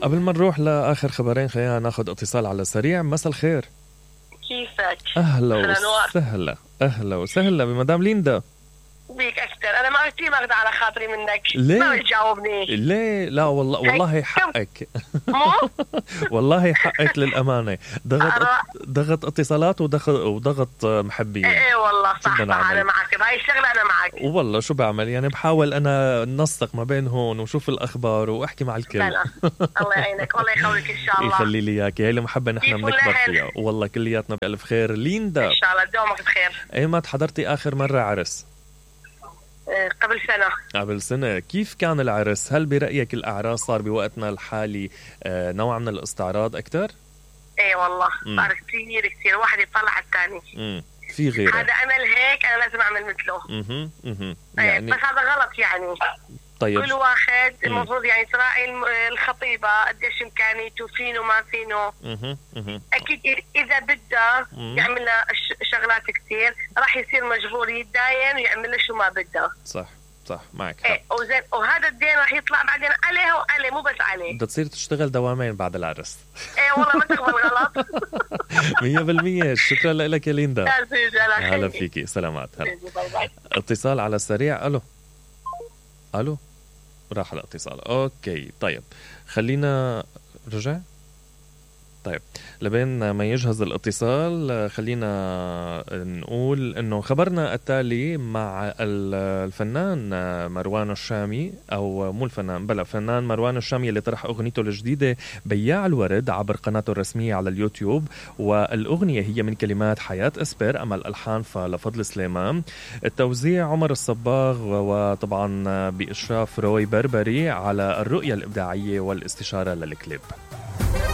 قبل ما نروح لآخر خبرين خلينا ناخد اتصال على السريع. مساء الخير. كيفك؟ أهلا وسهلا. أهلا وسهلا بمدام ليندا. بيك أكتر. أنا ما قلت ما على خاطري منك. ليه؟ ما بتجاوبني. ليه؟ لا والله حقك. والله حقك للأمانة. ضغط اتصالات وضغط محبين. ايه والله صح أنا معك بهاي الشغلة. أنا معك والله شو بعمل يعني بحاول أنا ننسق ما بين هون وشوف الأخبار وأحكي مع الكل. الله يعينك والله يخليك إن شاء الله. يخلي لي إياك. هي المحبة نحن بنكبر فيها والله كلياتنا بألف خير. ليندا إن شاء الله دومك بخير. أيمت حضرتي آخر مرة عرس؟ قبل سنة. كيف كان العرس؟ هل برأيك الأعراس صار بوقتنا الحالي نوع من الاستعراض أكتر؟ ايه والله صار كتير واحد يطلع الثاني. في غيره. هذا عمل هيك أنا لازم أعمل مثله. يعني بس هذا غلط يعني. طيب كل واحد المفروض يعني تراعي الخطيبة قديش إمكانيته فينه ما فينه. أكيد إذا بده يعمل له شغلات كتير راح يصير مجبور يتداين ويعمل له شو ما بده. صح معك حق. إيه وهذا الدين راح يطلع بعدين عليه وعليه مو بس عليه. بدها تصير تشتغل دوامين بعد العرس. إيه والله ما تقبل غلط. 100%. شكرا لك يا ليندا. هلا فيكي. سلامات. هلا. اتصال على السريع. ألو راح الاتصال. أوكي طيب خلينا رجع. طيب لبين ما يجهز الاتصال خلينا نقول انه خبرنا التالي مع الفنان مروان الشامي، او مو الفنان بلا فنان مروان الشامي اللي طرح اغنيته الجديدة بياع الورد عبر قناته الرسمية على اليوتيوب، والاغنية هي من كلمات حياة اسبر، اما الالحان فلفضل سليمان، التوزيع عمر الصباغ، وطبعا باشراف روي بربري على الرؤية الابداعية والاستشارة للكليب.